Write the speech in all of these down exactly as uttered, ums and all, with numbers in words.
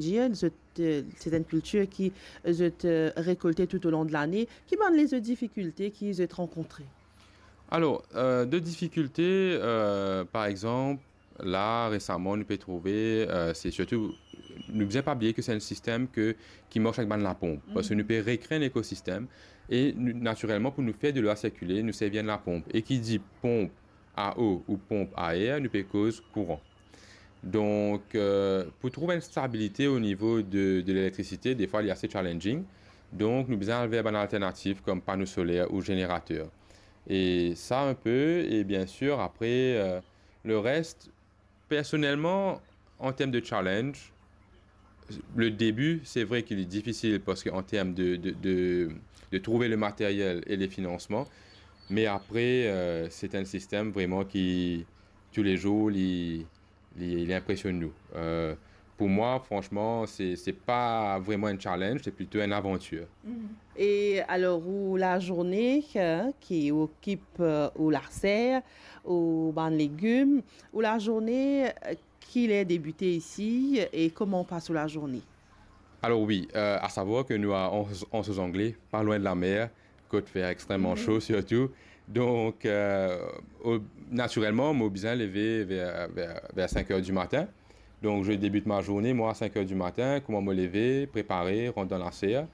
dir, zot, euh, c'est une culture ki zot, euh, rekolte tout au long de l'année. Ki bann lezot difikilte ki zot rankontre? Alor, euh, de difikilte, euh, par exanp, la, resaman, nou pe trouve, euh, se sirtou, nou bizin pa bliye ke se enn sistem ke, ki mars avek bann laponp, parski nou pe rekre enn ekosistem e nou, natirelman, pou nou fer delwa sirkile, nou servi enn laponp. E ki dir ponp a o ou ponp a er, nou pe koz kouran. Donk, euh, pou trouv enn stabilite o nivo de, de lelektrisite, defwa li ase challenging. Donk, nou bizin al ver bann alternativ kom pano soler ou zenerater. E sa, enn pe, e bien sir, apre, euh, le reste, personelman, an term de challenge, le début, c'est vrai qu'il est difficile parce que en termes de, de, de, de trouver le matériel et les financements, mais après, euh, c'est un système vraiment qui, tous les jours, li, li, li impressionne nous. Euh, pour moi, franchement, c'est, c'est pas vraiment un challenge, c'est plutôt une aventure. Mhm. E alor, ou lazourne, hein, ki okip, euh, ou laser, ou bann legim, ou lazourne, euh, ki ler debite isi e kouma ou pas ou lazourne? Alor wi, euh, a savwar ke nou a Anse, Anse aux Anglais, pa lwin de lamer, kot fer extreman so sirtou. Donk, euh, o-, natirelman, mo bizin leve ver, ver, ver sink er di matin. Donc, je débute ma journée, moi, à cinq heures du matin. Kouma mo leve, prepare, rant dan laser,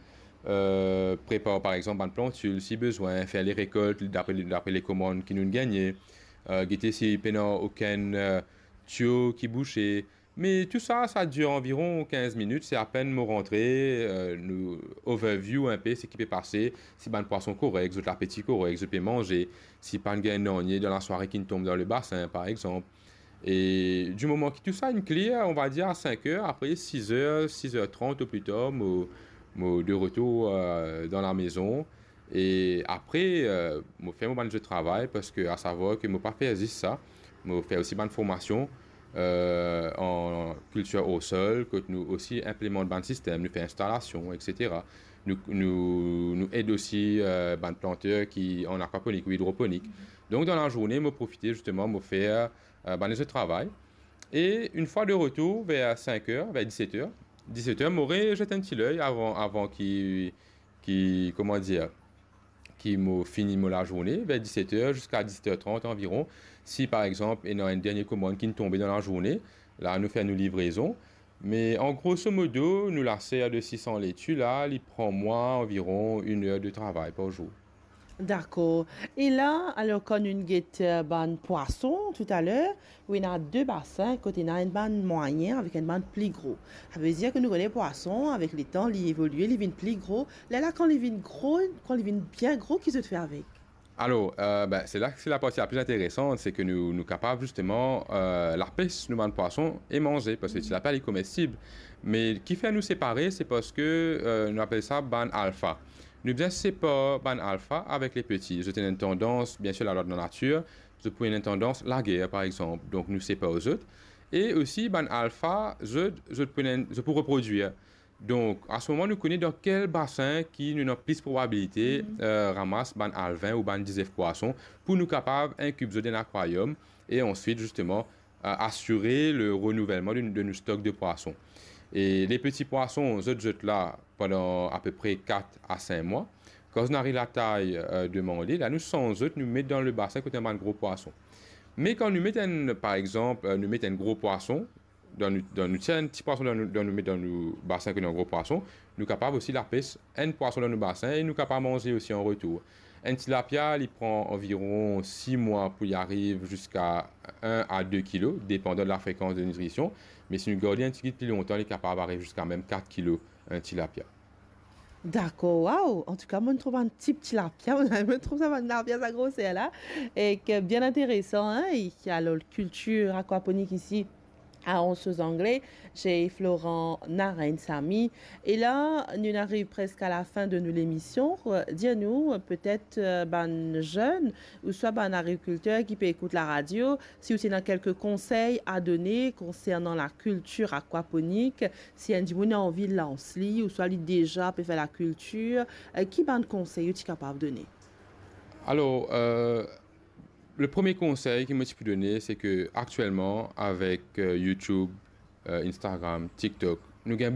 euh, prepar, par exanp, bann plantil, si bizin, fer le rekolt dapre, dapre le komann ki nou gagne, euh, gete si pena okenn, euh, tiyo ki bouze. Me tou sa, sa dir anviron kinz minit, se apenn mo rantre, euh, nou overview enn pe seki pe pase, si bann pwason korek, zot lapeti korek, zot pe manze, si pa'nn gagn nanye dan lasware ki'nn tonbe dan le basin, par exanp. E di moman ki tou sa inn kler, on va dir a sink er, apre sis er, sis er trant o pli tar, mo, mo de retour, euh, dan lamezon. E apre, euh, mo fer mo bann zot travay, parski a savwar ke mo pa fer zis sa, mo fer osi bann formasion, euh, an kiltir o sol, kot nou osi inplimant bann sistem, nou fer instalasion, et cetera. Nou, nou, nou ed osi, euh, bann planter ki an akwaponik ou idroponik. Donk, dan lazourne, mo profite zisteman, mo fer, euh, bann lezot travay. E enn fwa de retour, ver sink er, ver diset er, diset er, mo rezet enn ti ley avan, avan ki, ki, kouma dir, ki mo fini mo lazourne, ver diset er ziska diset er trant anviron. Si, par exanp, ena enn dernie komann ki'nn tonbe dan lazourne, la, nou fer nou livrezon. Me an groso modo, nou laser de sis san leti la, li pran mwa anviron enn er de travay par zour. Dakor. E la, alor, kan nou get, euh, bann pwason toutaler, ou ena de basin, kot ena enn bann mwayin avek enn bann pli gro. Sa ve dir ke nou kone pwason, avek letan, li evolie, li vinn pli gro. Lerla, kan li vinn gro, kan li vinn bien gro, ki zot fer avek? Alor, euh, ben, se la, se laparti la pli interesan, se ke nou, nou kapav zisteman, euh, lapes nou bann pwason e manze, parski tilapia li komestib. Me ki fer nou separe, se parski, euh, nou apel sa bann alfa. Nou bizin separ bann alfa avek le peti. Zot ena enn tandans, bien sir, lalwa de lanatir, zot pou ena enn tandans lager, par exanp. Donk, nou separ zot. E osi, bann alfa, zot, zot pou ena, zot pou reprodwir. Donk, a se moman, nou kone dan kel basin ki nou ena plis probabilite, euh, ramas bann alvin ou bann dizef pwason pou nou kapav inkib zot dan akwariom e answit, zisteman, euh, asire le renouvelman de, de nou stok de pwason. E le peti pwason, zot, zot la pandan apepre kat a sink mwa. Kan zot ariv latay, euh, demande, la nou sanz zot, nou met dan le basin kot ena bann gro pwason. Me kan nou met enn, par exanp, euh, nou met enn gro pwason, dan nou, dan nou tir enn ti pwason dan nou, dan nou met dan nou basin kot ena gro pwason, nou kapav osi lapes enn pwason dan nou basin e nou kapav manze osi an retour. Enn tilapia, li pran anviron sis mwa pou li ariv ziska enn a de kilo, depandan de lafrekans de nitrision. Me si nou gard li enn tigit pli lontan, li kapav ariv ziska mem kat kilo, enn tilapia. Dakor, waw! Antouka, mo'nn trouv enn ti, ti tilapia, mo'nn trouv sa bann tilapia sa groser la, e ki bien interesan, hein, e ki, alor, kiltir akwaponik isi, a Anse aux Anglais, se Florent Narain Samy. E la, nou ariv preske a lafin de nou lemision. Dir nou, euh, petet, euh, bann zenn ouswa bann agrikilter ki pe ekout laradio, si ou ti ena kelke konsey a done konsernan lakiltir akwaponik, si enn dimoun ena anvi lans li, ouswa li deza pe fer lakiltir, euh, ki bann konsey ou ti kapav done? Alor, euh, le premie konsey ki mo ti pou done, se ke aktielman, avek, euh, YouTube, euh, Instagram, TikTok, Nou gagn